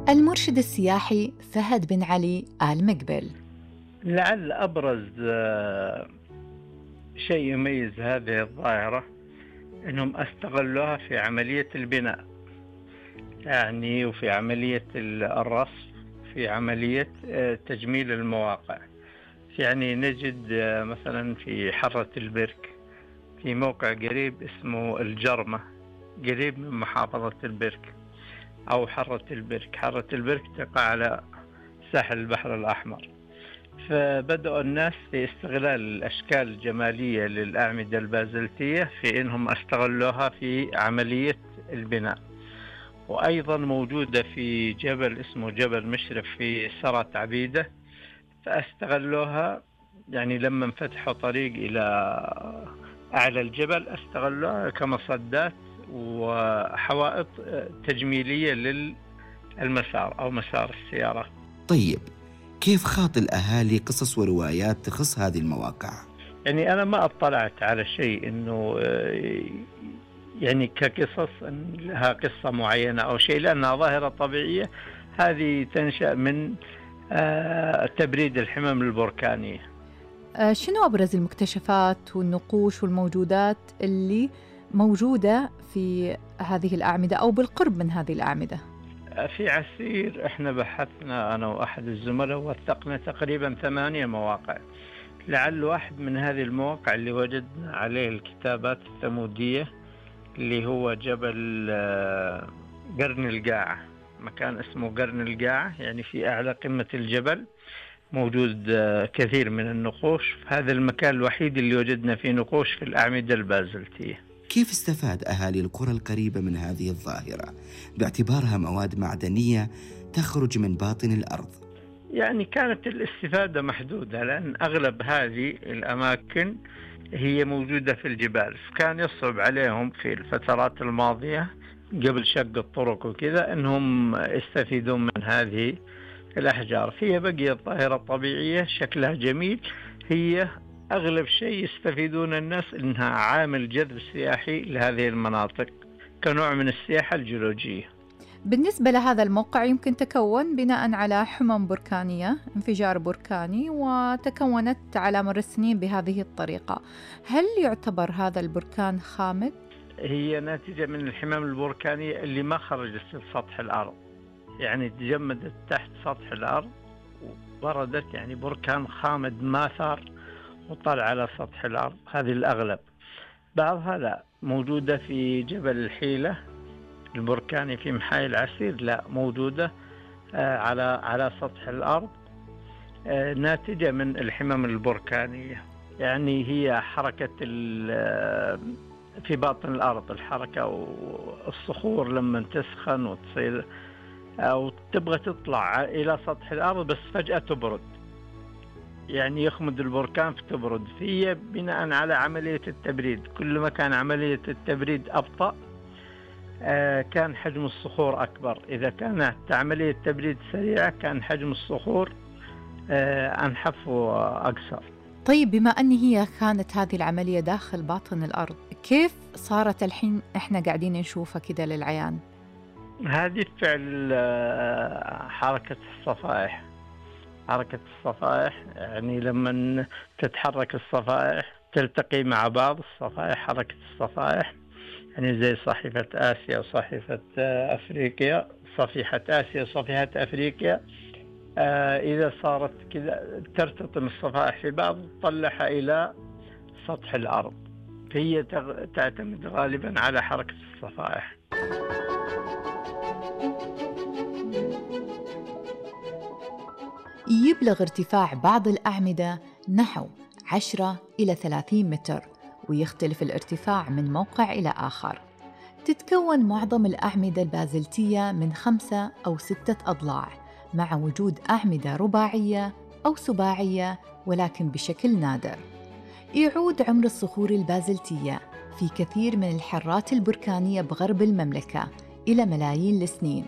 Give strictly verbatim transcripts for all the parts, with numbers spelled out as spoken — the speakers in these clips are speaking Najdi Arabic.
المرشد السياحي فهد بن علي آل مقبل. لعل أبرز آه، شيء يميز هذه الظاهرة أنهم استغلوها في عملية البناء، يعني وفي عملية الرصف، في عملية آه، تجميل المواقع. يعني نجد آه، مثلا في حرة البرك في موقع قريب اسمه الجرمة، قريب من محافظة البرك أو حرة البرك. حرة البرك تقع على ساحل البحر الأحمر. فبدأوا الناس في استغلال الأشكال الجمالية للأعمدة البازلتية في إنهم استغلوها في عملية البناء. وأيضا موجودة في جبل اسمه جبل مشرف في سرة عبيدة، فاستغلوها يعني لما انفتحوا طريق إلى أعلى الجبل استغلوها كمصدات وحوائط تجميلية للمسار أو مسار السيارة. طيب، كيف خاط الأهالي قصص وروايات تخص هذه المواقع؟ يعني أنا ما اطلعت على شيء إنه يعني كقصص لها قصة معينة أو شيء، لأنها ظاهرة طبيعية. هذه تنشأ من تبريد الحمم البركانية. شنو أبرز المكتشفات والنقوش والموجودات اللي موجودة في هذه الأعمدة أو بالقرب من هذه الأعمدة؟ في عسير احنا بحثنا أنا وأحد الزملاء ووثقنا تقريبا ثمانية مواقع. لعل واحد من هذه المواقع اللي وجدنا عليه الكتابات الثمودية اللي هو جبل قرن القاعة، مكان اسمه قرن القاعة، يعني في أعلى قمة الجبل موجود كثير من النقوش. هذا المكان الوحيد اللي وجدنا فيه نقوش في الأعمدة البازلتية. كيف استفاد أهالي القرى القريبة من هذه الظاهرة باعتبارها مواد معدنية تخرج من باطن الأرض؟ يعني كانت الاستفادة محدودة، لأن أغلب هذه الأماكن هي موجودة في الجبال، فكان يصعب عليهم في الفترات الماضية قبل شق الطرق وكذا أنهم يستفيدون من هذه الأحجار. هي بقيت ظاهرة طبيعية شكلها جميل، هي أغلب شيء يستفيدون الناس إنها عامل جذب سياحي لهذه المناطق كنوع من السياحة الجيولوجية. بالنسبة لهذا الموقع يمكن تكون بناء على حمم بركانية، انفجار بركاني، وتكونت على مر السنين بهذه الطريقة. هل يعتبر هذا البركان خامد؟ هي ناتجة من الحمم البركانية اللي ما خرجت لسطح الأرض، يعني تجمدت تحت سطح الأرض وبردت، يعني بركان خامد ما ثار وطلع على سطح الأرض. هذه الأغلب. بعضها لا، موجودة في جبل الحيلة البركاني في محاي العسير، لا موجودة آه على على سطح الأرض، آه ناتجة من الحمم البركانية. يعني هي حركة في باطن الأرض، الحركة والصخور لما تسخن وتصير أو تبغى تطلع إلى سطح الأرض بس فجأة تبرد، يعني يخمد البركان فتبرد. هي بناء على عملية التبريد، كل ما كان عملية التبريد أبطأ آه كان حجم الصخور أكبر. إذا كانت عملية تبريد سريعة كان حجم الصخور آه أنحف وأقصر. طيب، بما أن هي كانت هذه العملية داخل باطن الأرض، كيف صارت الحين إحنا قاعدين نشوفها كده للعيان؟ هذه فعل آه حركة الصفائح. حركة الصفائح يعني لما تتحرك الصفائح تلتقي مع بعض الصفائح، حركة الصفائح يعني زي صحيفة آسيا وصحيفة أفريقيا، صفيحة آسيا وصفيحة أفريقيا. آه إذا صارت كذا ترتطم الصفائح في بعض وتطلعها إلى سطح الأرض، فهي تعتمد غالبا على حركة الصفائح. يبلغ ارتفاع بعض الأعمدة نحو عشرة إلى ثلاثين متر، ويختلف الارتفاع من موقع إلى آخر. تتكون معظم الأعمدة البازلتية من خمسة أو ستة أضلاع، مع وجود أعمدة رباعية أو سباعية ولكن بشكل نادر. يعود عمر الصخور البازلتية في كثير من الحرات البركانية بغرب المملكة إلى ملايين السنين،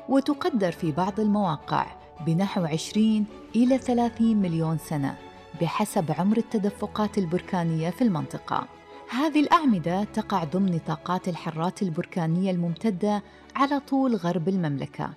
وتقدر في بعض المواقع بنحو عشرين إلى ثلاثين مليون سنة بحسب عمر التدفقات البركانية في المنطقة. هذه الأعمدة تقع ضمن نطاقات الحرات البركانية الممتدة على طول غرب المملكة،